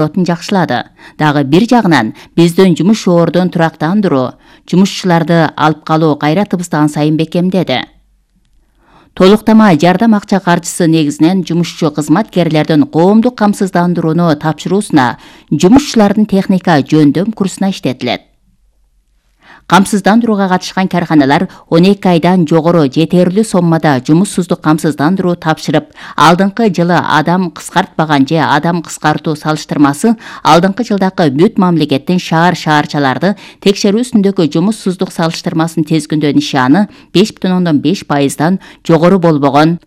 оборотун жакшылады. Дагы бир жагынан биздин жумуш ордун турактандыруу, жумушчуларды алып калуу кайра табыстаган сайын бекемдеди. Толуктама жардам акча каржысы негизинен жумушчу кызматкерлердин коомдук камсыздандырууну тапшыруусуна, жумушчулардын техника жөндөм курсуна иштетилет. Камсыздандырууга катышкан карханалар 12 айдан жогору жетерлүү соммада жумушсуздук камсыздандыруу тапшырып, алдыңкы жылы адам кыскартпаган же адам кыскартуу салыштырмасы алдыңкы жылдагы бүт мамлекеттин шаар-шаарчаларды текшерүүсүндөгү жумушсуздук салыштырмасынын тезгүндөө нишаны 5,5% жогору болбогон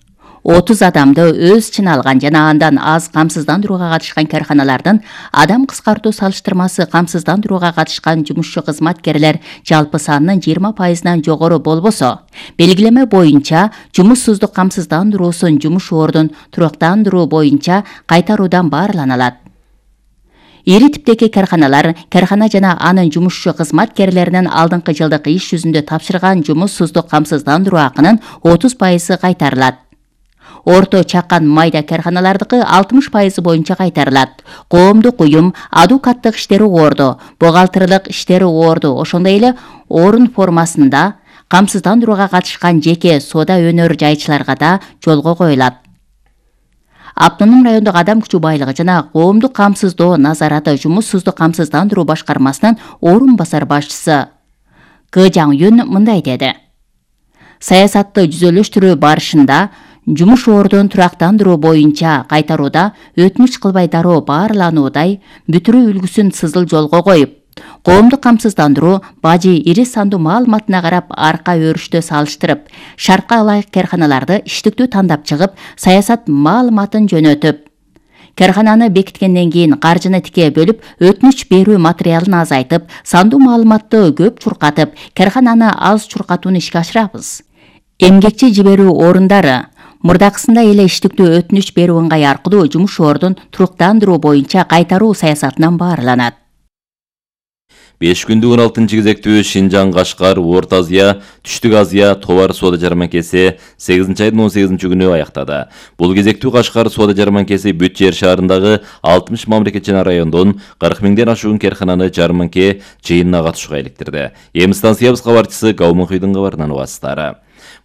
30 адамды өз ичине алган жана андан аз камсыздандырууга катышкан карханалардын адам кыскартуу салыштырмасы камсыздандырууга катышкан жумушчу кызматкерлер жалпы санынын 20%-нан жогору болбосо, белгилеме боюнча жумушсуздук камсыздандыруусун жумуш ордун турактандыруу боюнча кайтаруудан баарлана алат. Ири типтеги карханалар, кархана жана анын жумушчу кызматкерлеринин алдыңкы жылдык иш жүзүндө тапшырган жумушсуздук камсыздандыруу акынын 30% кайтарылат. Орто чакан майда карханалардыкы 60% боюнча кайтарылат. Коомдук уюм, адвокаттык иштери орду, бухгалтерлик иштери орду, ошондой эле орун формасында камсыздандырууга катышкан жеке соода өнөр жайчыларга да жолго коюлат. Автоном райондук адам күчү байлыгы жана коомдук камсыздоо назараты жумушсуздук камсыздандыруу башкармасынын орун басар башчысы Кы Жаң Юн мындай деди. Саясатты жүзөлөштүрүү барышында жумуш ордун турактандыруу боюнча кайтарууда өтүнүч кылбай дароо баарлануудай бүтүрүү үлгүсүн сызыл жолго коюп, коомдук камсыздандыруу бажы ири сандуу маалыматына карап арка өрүштө салыштырып, шартка ылайык карханаларды иштиктүү тандап чыгып, саясат маалыматын жөнөтүп, кархананы бекиткенден кийин каржыны тике бөлүп, өтүнүч берүү материалын азайтып, сандуу маалыматты көп чуркатып, кархананы аз чуркатууну ишке ашырабыз. Эмгекчи жиберүү орундары мурдакысында эле иштиктүү өтүнүч берүү ыңгай аркылуу жумуш ордун туруктандыруу боюнча кайтаруу саясатынан баарланат. 5 күндүк 16 кезектүү Шинжаң, Кашкар, Орто Азия, Түштүк Азия товар соода жарманкеси 8 айдын 18 күнү аяктады. Бул кезектүү Кашкар соода жарманкеси бүт жер шаарындагы 60 мамлекет жана райондон 40 миңден ашуун кархананы жарманке жыйынына катышууга иликтирди. Эми станциябыз кабарчысы Гаумухуйдун кабарынан угасыздар.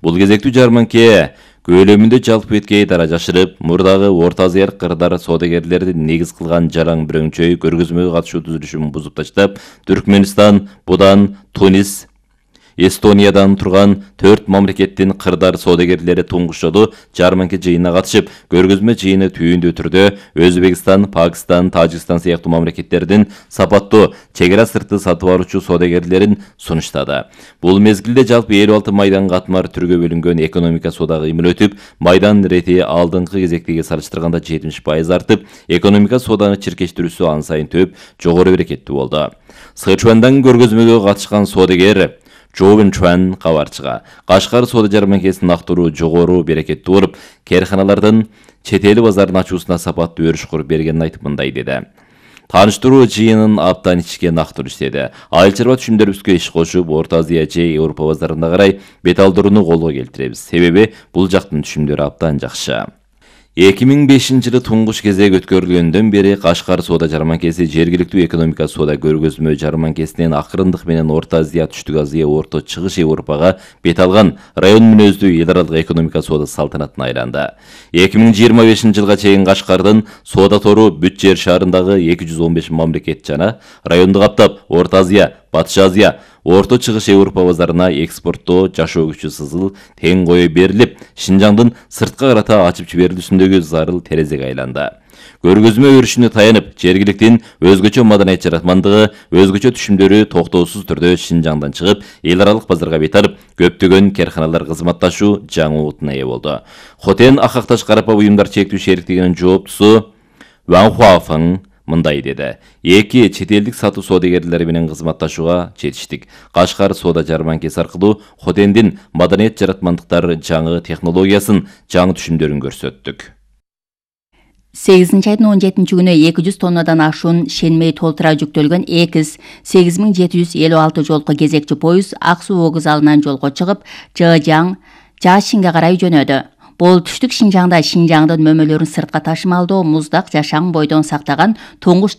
Бул кезектүү жарманке көлөмүндө жалпы беткей дара жашырып, мурдагы Орто Азиялык кырдар соодагерлерди негиз кылган жалаң бирөңчөй көргөзмөгө катышуу түзүлүшүн бузуп таштап, Түркмөнстан, Будан, Тунис, Эстониядан турган 4 мамлекеттин кырдар соодагерлери туңгуш жолу жарманке жыйынына катышып, көргөзмө жыйыны түйүндүү түрдө Өзбекстан, Пакистан, Тажикстан сыяктуу мамлекеттердин сапаттуу чек ара сырты сатып алуучу соодагерлерин сунуштады. Бул мезгилде жалпы 56 майдан катмар түргө бөлүнгөн экономика соода кыймыл өтүп, майдан рети алдыңкы кезектеги салыштырганда 70% артып, экономика сооданы чиркештирүүсү ан сайын төп, жогору берекеттүү болду. Сычуандан көргөзмөгө катышкан соодагер Жобин Чуан кабарчыга Кашкар соода жарманкесин актыруу жогору берекеттүү болуп, карханалардын чет эл базарын ачуусуна сапаттуу өрүш куруп бергенин айтып мындай деди. Тааныштыруу жыйынын абдан ичке нактылуу иштеди. Айыл чарба түшүмдөрүбүзгө иш кошуп, Орто Азия же Европа базарына карай бет алдырууну колго келтиребиз. Себеби бул жактын түшүмдөрү абдан жакшы. 2005-жылы туңгуш кезек өткөрүлгөндөн бери Кашкар соода жарманкеси жергиликтүү экономика соода көргөзмө жарманкесинен акырындык менен Орто Азия, Түштүк Азия, Орто Чыгыш Европага бет алган район мүнөздүү эл аралык экономика соода салтанатына айланды. 2025-жылга чейин Кашкардын соода тору бүт жер шаарындагы 215 мамлекет жана районду каптап, Орто Азия, Батыш Азия, Орто Чыгыш Европа базарына экспорттоо жашоо күчү сызыл тең кое берилип, Шинжаңдын сыртка карата ачып жиберилүүсүндөгү зарыл терезеге айланды. Көргөзмө өрүшүнө таянып, жергиликтин өзгөчө маданият жаратмандыгы, өзгөчө түшүмдөрү токтоосуз түрдө Шинжаңдан чыгып, эл аралык базарга бет алып, көптөгөн карханалар кызматташуу жаңы утуна ээ болду. Хотен Акакташ Карапа буюмдар чектүү шериктигинин жооптусу Ван Хуафың мындай деди. Эки чет элдик сатуу соодагерлери менен кызматташууга жетиштик. Кашкар соода жарманкеси аркылуу Хотендин маданият жаратмандыктар жаңы технологиясын, жаңы түшүмдөрүн көрсөттүк. 8 айдын 17 күнү 200 тоннадан ашуун шенмей толтура жүктөлгөн Экис 8756 жолку кезекчи поезд Ак суу вокзалынан жолго чыгып, Жыжаң, Жашинге карай жөнөдү. Бул түштүк Шинжаңда Шинжаңдын мөмөлөрүн сыртка ташымалдоо, муздак жашаң бойдон сактаган туңгуш